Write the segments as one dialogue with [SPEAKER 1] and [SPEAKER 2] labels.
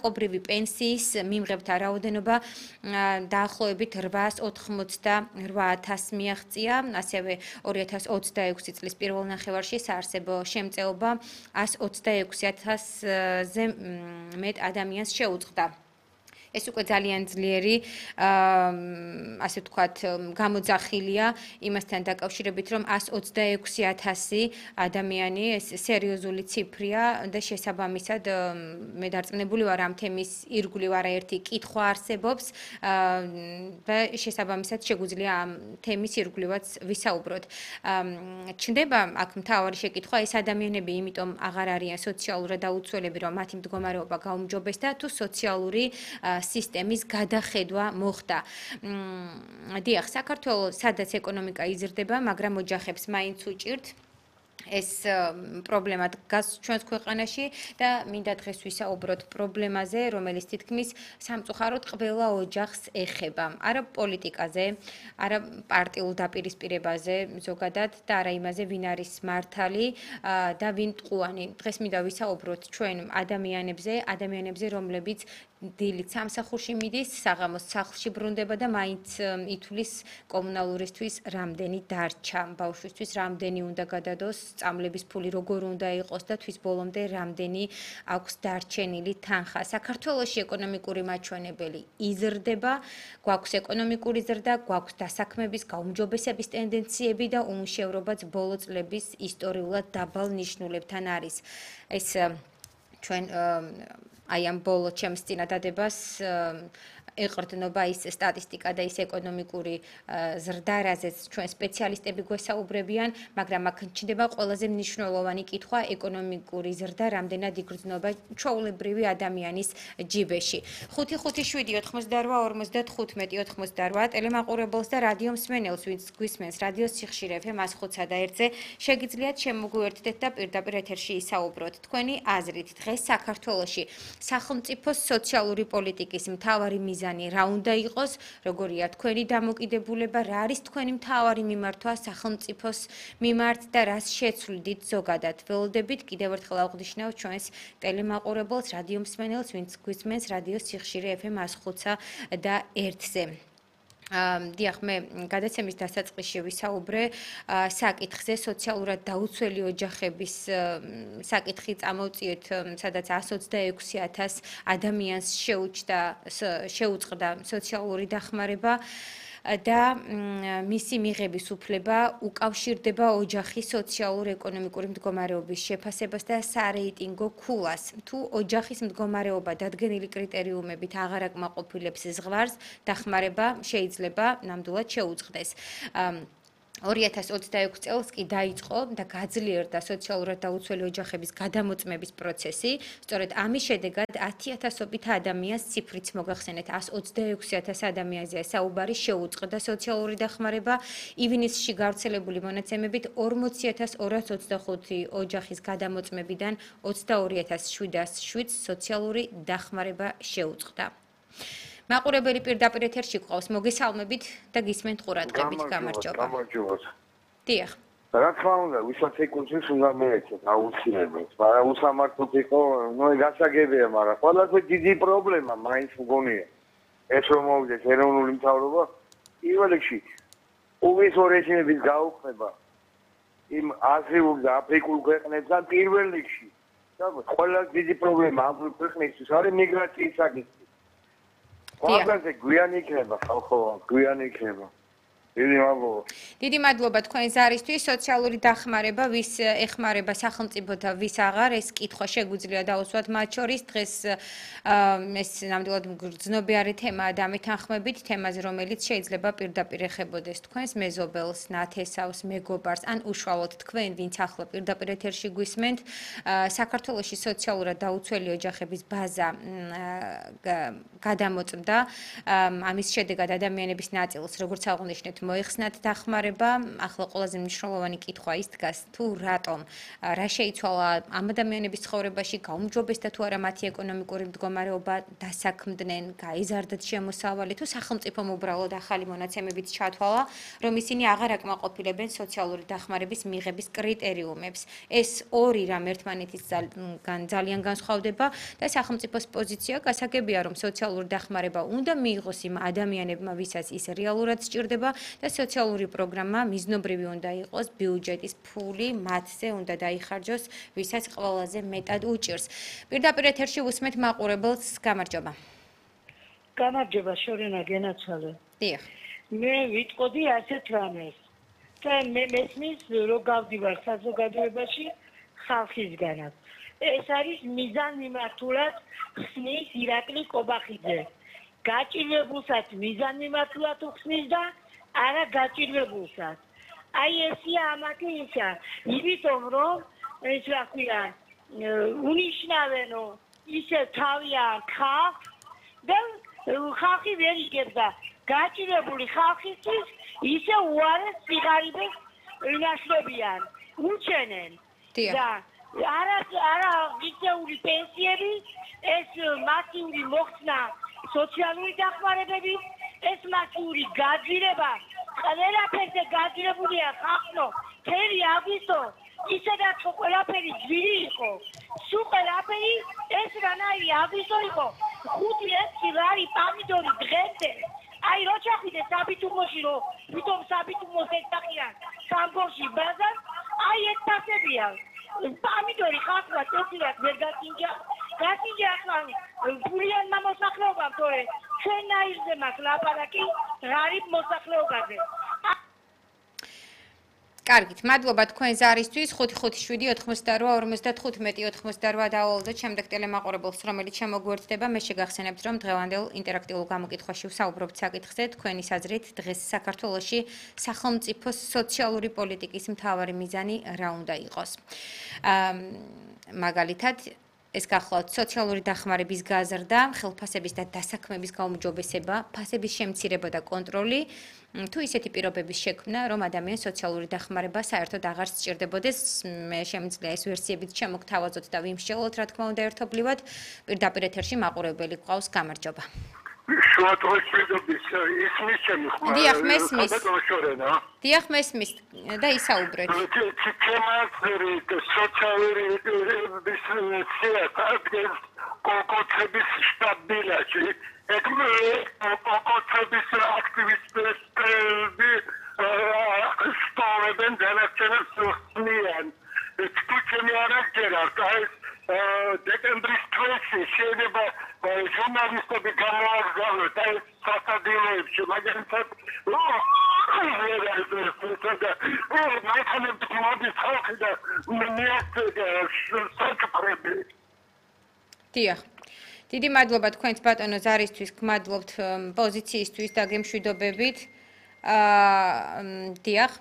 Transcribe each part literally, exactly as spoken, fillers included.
[SPEAKER 1] კობრივი პენსიის მიმღებთა რაოდენობა დაახლოებით რვაას ოთხმოცდაოთხ ათასს მიაღწია, ასევე ორი ათას ოცდაექვსი წლის პირველ ნახევარში საარსებო შემწეობა ას ოცდაექვსი ათასზე მეტ ადამიანს შეუწყდა. ეს უკვე ძალიან ძლიერი, ასე ვთქვათ, გამოძახილია იმასთან დაკავშირებით, რომ ას ოცდაექვსი ათასი ადამიანი, ეს სერიოზული ციფრია და შესაბამისად მე დარწმუნებული ვარ ამ თემის ირგვლივ არაერთი კითხვა არსებობს და შესაბამისად შეგვიძლია ამ თემის ირგვლივაც ვისაუბროთ. ჩნდება აქ მთავარი შეკითხვა, ეს ადამიანები იმიტომ აღარ არიან სოციალურად დაუცველები, რომ მათი მდგომარეობა გაუმჯობესდა თუ სოციალური სისტემის გადახედვა მოხდა. დიახ, საქართველოს სადაც ეკონომიკა იზრდება, მაგრამ ოჯახებს მაინც უჭირთ ეს პრობლემა დგას ჩვენს ქვეყანაში და მინდა დღეს ვისაუბროთ პრობლემაზე, რომელიც თითქმის სამწუხაროდ ყველა ოჯახს ეხება. არა პოლიტიკაზე, არა პარტიულ დაპირისპირებაზე ზოგადად და არა იმაზე, ვინ არის მართალი და ვინ ტყუანი. დღეს მინდა ვისაუბროთ ჩვენ ადამიანებზე, ადამიანებზე, რომლებიც დილით სამსახურში მიდის, საღამოს სახლში ბრუნდება და მაინც ითვლის კომუნალურისთვის რამდენი დარჩა, ბავშვისთვის რამდენი უნდა გადადოს, სწავლების ფული როგორ უნდა იყოს და თვის ბოლომდე რამდენი აქვს დარჩენილი თანხა. საქართველოში ეკონომიკური მაჩვენებელი იზრდება, გვაქვს ეკონომიკური ზრდა, გვაქვს დასაქმების, გაუმჯობესების ტენდენციები და უმუშევრობაც ბოლო წლების ისტორიულად დაბალ ნიშნულებთან არის. ეს ჩვენ აი ამ ბოლო ჩემს წინადადებას ეყრდნობა ის სტატისტიკა და ის ეკონომიკური ზრდა, რაზეც ჩვენ სპეციალისტები გვესაუბრებიან, მაგრამ აქ ჩნდება ყველაზე მნიშვნელოვანი კითხვა ეკონომიკური ზრდა, რამდენად იგრძნობა ჩვეულებრივი ადამიანის ჯიბეში. ხუთი ხუთი შვიდი ოთხმოცდარვა ორმოცდათხუთმეტი ოთხმოცდარვა ტელემაყურებელს და რადიო მსმენელს, ვინც გვისმენს რადიოს სიხშირე ეფ ემ ათს ოცდაოთხ და ერთზე, შეგიძლიათ შემოგვიერთდეთ და პირდაპირ ეთერში ისაუბროთ. თქვენი აზრით, დღეს საქართველოში სახელმწიფოს სოციალური პოლიტიკის მთავარი მიზანი რა უნდა იყოს, როგორია თქვენი დამოკიდებულება, რა არის თქვენი მთავარი მიმართვა სახელმწიფოს მიმართ და რას შეცვლიდით ზოგადად. ველოდებით კიდევ ერთხელ აღვნიშნავ ჩვენს ტელემაყურებელს, რადიო მსმენელს, ვინც გვისმენს რადიოს სიხშირე ეფ ემ ათს ოცდაოთხ და ერთზე. დიახ, მე გადაცემის დასაწყისში ვისაუბრე საკითხზე, სოციალურად დაუცველი ოჯახების საკითხი წამოვწიეთ, სადაც ას ოცდაექვსი ათას ადამიანს შეუჭდა, შეუწყდა სოციალური დახმარება და მისი მიღების უფლება უკავშირდება ოჯახის სოციალურ-ეკონომიკური მდგომარეობის შეფასებას და სარეიტინგო ქულას. თუ ოჯახის მდგომარეობა დადგენილი კრიტერიუმებით აღარ აკმაყოფილებს ზღვარს, დახმარება შეიძლება ნამდვილად შეუწყდეს. ორი ათას ოცდაექვსი წელს კი დაიწყო და გაძლიერდა სოციალურად დაუცველი ოჯახების გადამოწმების პროცესი. სწორედ ამის შედეგად ათი ათასობით ადამიანს ციფრიც მოგახსენეთ, ას ოცდაექვსი ათას ადამიანზეა საუბარი, შეუწყდა სოციალური დახმარება. ივნისში გავრცელებული მონაცემებით ორმოცი ათას ორას ოცდახუთი ოჯახის გადამოწმებიდან ოცდაორი ათას შვიდას შვიდს სოციალური დახმარება შეუწყდა. მაყურებელი პირდაპირ ეთერში გვყავს, მოგესალმებით და გისმენთ ყურადღებით. გამარჯობა.
[SPEAKER 2] გამარჯობა.
[SPEAKER 1] დიახ.
[SPEAKER 2] რა თქმა უნდა, ვისაც ეკუთვნის უნდა მეეცეთ აუცილებლად. მაგრამ უსამართლოდ იყო, ნუ გასაგებია, მაგრამ ყველაზე დიდი პრობლემა მაინც მგონია. ეს რომ მოვიდეს ეროვნული მთავრობა, პირველ რიგში უვისო რეჟიმების გაუქმება იმ აზრიულ და აფრიკულ ქვეყნებთან პირველ რიგში. და ყველაზე დიდი პრობლემა ამ ქვეყნისთვის არის მიგრაციის საკითხი. ყველგანზე გვიანი იქნება ხალხო, გვიანი იქნება. დიდი მადლობა.
[SPEAKER 1] დიდი მადლობა თქვენი ზარისთვის. სოციალური დახმარება ვის ეხმარება სახელმწიფოთა, ვის აღარ, ეს კითხვა შეგვიძლია დავუსვათ მათ შორის. დღეს ეს ნამდვილად გრძნობიარე თემაა დამეთანხმებით, თემაზე, რომელიც შეიძლება პირდაპირ ეხებოდეს თქვენს მეზობელს, ნათესავს, მეგობარს, ან უშუალოდ თქვენ, ვინც ახლა პირდაპირ ეთერში გვისმენთ. საქართველოში სოციალურად დაუცველი ოჯახების ბაზა გადამოწმდა. ამის შედეგად ადამიანების ნაწილს, როგორც აღვნიშნეთ, მოიხსნათ დახმარება, ახლა ყველაზე მნიშვნელოვანი კითხვა ის დგას, თუ რატომ რა შეიცვალა ამ ადამიანების ცხოვრებაში, გაუმჯობესდა თუ არა მათი ეკონომიკური მდგომარეობა, დასაქმდნენ, გაიზარდათ შემოსავალი, თუ სახელმწიფომ უბრალოდ ახალი მონაცემებით ჩათვალა, რომ ისინი აღარ აკმაყოფილებენ სოციალური დახმარების მიღების კრიტერიუმებს. ეს ორი რამ ერთმანეთისგან ძალიან განსხვავდება და სახელმწიფოს პოზიცია გასაგებია, რომ სოციალური დახმარება უნდა მიიღოს იმ ადამიანებმა, ვისაც ის რეალურად სჭირდება და სოციალური პროგრამა მიზნობრივი უნდა იყოს, ბიუჯეტის ფული მათზე უნდა დაიხარჯოს, ვისაც ყველაზე მეტად უჭირს. პირდაპირ ეთერში უსმენთ მაყურებელს, გამარჯობა.
[SPEAKER 3] გამარჯობა, შორენა გენაცვალე.
[SPEAKER 1] დიახ.
[SPEAKER 3] მე ვიტყოდი ასეთ რამეს. და მე მესმის, რომ გავდივარ საზოგადოებაში ხალხისგანაც. ეს არის მიზან მიმართულად ხსნის ირაკლი კობახიძე. გაჭირვებულსაც მიზან მიმართულად ხსნის და არა გაჭირვებულსაც. აი ესია ამათი ისა, იმიტომ რომ ეს რა ქვია, უნიშნავენო ისე თავიან ხალხს და ხალხი ვერ იგებდა გაჭირვებული ხალხისთვის ისე უარეს სიღარიბეს ინაშლებიან, უჩენენ და არა არა მიწეული პენსიები, ეს მასიური მოხსნა სოციალური დახმარებები, ეს მასიური გაძვირება, ყველაფერზე გაძვირებულია ხალხო, თერი აგვისტო, ისედაც ყველაფერი ძვირი იყო, სულ ყველაფერი ეს რანაირი აგვისტო იყო, ხუთი ექვსი ლარი პამიდორი დღემდე, აი რო ჩახვიდე საბიტუმოში, რომ თვითონ საბიტუმოს ეცახიან სამგორში ბაზარს, აი ეს ფასებია. პამიდორი ხალხმა წესილად ვერ გაკინჯა, გაკინჯა ახლა ფულიანმა მოსახლეობამ, თორე ჩვენაირზე მაქვს ლაპარაკი ღარიბ მოსახლეობაზე.
[SPEAKER 1] კარგით, მადლობა თქვენ ზარისთვის. ხუთი ხუთი შვიდი ოთხმოცდარვა ორმოცდათხუთმეტი ოცდაოთხმოცდარვა დავალოდოთ შემდეგ ტელემაყურებელს, რომელიც შემოგვერთდება. მე შეგახსენებთ, რომ დღევანდელ ინტერაქტიულ გამოკითხვაში ვსაუბრობთ საკითხზე, თქვენი საზრით დღეს საქართველოში სახელმწიფოს სოციალური პოლიტიკის მთავარი მიზანი რა უნდა იყოს. მაგალითად, ეს გახლავთ სოციალური დახმარების გაზრდა, ხელფასების და დასაქმების გაუმჯობესება, ფასების შემცირება და კონტროლი, თუ ისეთი პირობების შექმნა, რომ ადამიანს სოციალური დახმარება საერთოდ აღარ სჭირდებოდეს, მე შემიძლია ეს ვერსიებიც შემოგთავაზოთ და ვიმსჯელოთ, რა თქმა უნდა, ერთობლივად. პირდაპირ ეთერში მაყურებელი გვყავს, გამარჯობა.
[SPEAKER 4] შუადღესდღეობის ისმის ჩემი ხმა.
[SPEAKER 1] დიახ, მესმის.
[SPEAKER 4] შორენა.
[SPEAKER 1] დიახ, მესმის და ისაუბრეთ.
[SPEAKER 4] ჩემი სოციალური სიასატის კონკრეტების სტაბილიზაცი, კონკრეტების აქტივისტები სტოვებენ დანარჩენებს ხსნიან. თუ ჩემი არაგერა, აი დეკემბრის თვეში შეიძლება ჟურნალისტები გამოაგზავნოთ აი სასადილოებში, მაგალითად
[SPEAKER 1] დიახ. დიდი მადლობა თქვენს ბატონო ზარისთვის, გმადლობთ პოზიციისთვის და გემშვიდობებით. აა დიახ.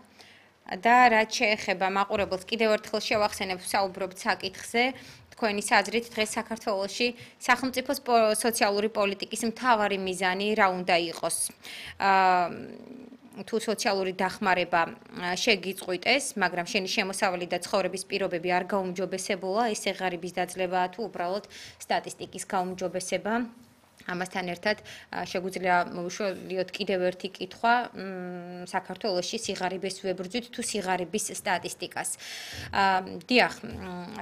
[SPEAKER 1] და რაც შეეხება მაყურებელს, კიდევ ერთხელ შევახსენებ, ვსაუბრობთ საკითხზე. თქვენი საზრით დღეს საქართველოში სახელმწიფოს სოციალური პოლიტიკის მთავარი მიზანი რა უნდა იყოს. აა თუ სოციალური დახმარება შეგიწყვიტეს, მაგრამ შენი შემოსავალი და ცხოვრების პირობები არ გაუმჯობესებულა, ესე ღარიბის დაძლევა თუ უბრალოდ სტატისტიკის გაუმჯობესება. ამასთან ერთად შეგვიძლია მოვიშველიოთ კიდევ ერთი კითხვა საქართველოში სიღარიბეს ვებრძვით თუ სიღარიბის სტატისტიკას. დიახ,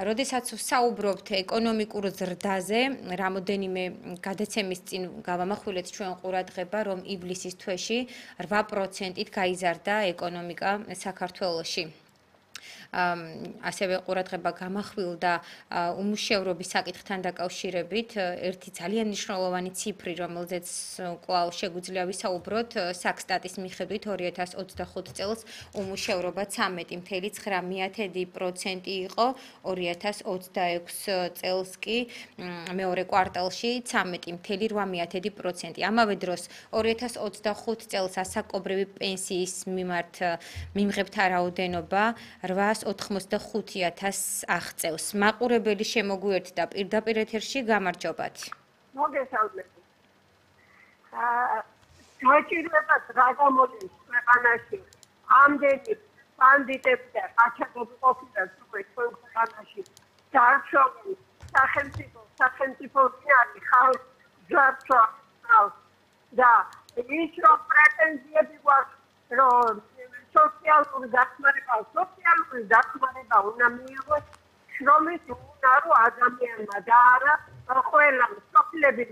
[SPEAKER 1] როდესაც ვსაუბრობთ ეკონომიკურ ზრდაზე, რამოდენიმე გადაცემის წინ გავამახვილეთ ჩვენ ყურადღება, რომ ივლისის თვეში რვა პროცენტით გაიზარდა ეკონომიკა საქართველოში. ასევე ყურადღება გამახვილდა უმუშევრობის საკითხთან დაკავშირებით ერთი ძალიან მნიშვნელოვანი ციფრი, რომელზეც კვლავ შეგვიძლია ვისაუბროთ, საქსტატის მიხედვით ორი ათას ოცდახუთ წელს უმუშევრობა ცამეტი წამლ ცხრა პროცენტი იყო, ორი ათას ოცდაექვსი წელს კი მეორე კვარტალში ცამეტი წამლ რვა პროცენტი. ამავე დროს ორი ათას ოცდახუთ წელს ასაკობრივი პენსიის მიმართ მიმღებთა რაოდენობა რვაას ოთხმოცდახუთი ათასს აღწევს. მაყურებელი შემოგვიერთდა პირდაპირ ეთერში, გამარჯობათ.
[SPEAKER 3] მოგესალმებით. აა
[SPEAKER 5] გაჭირვება რა გამოდის ქვეყანაში ამდენი ბანდიტები და ყაჩაღები ყოფილან უკვე ჩვენ ქვეყანაში დარჩოდნენ სახელმწიფო სახელმწიფო არის ხალხ ძარცვა და ის რომ პრეტენზიები გვაქვს რომ სოციალური დახმარება სოციალური დახმარება უნდა მიიღოს შრომის უნარო ადამიანმა და არა ყველა სოფლები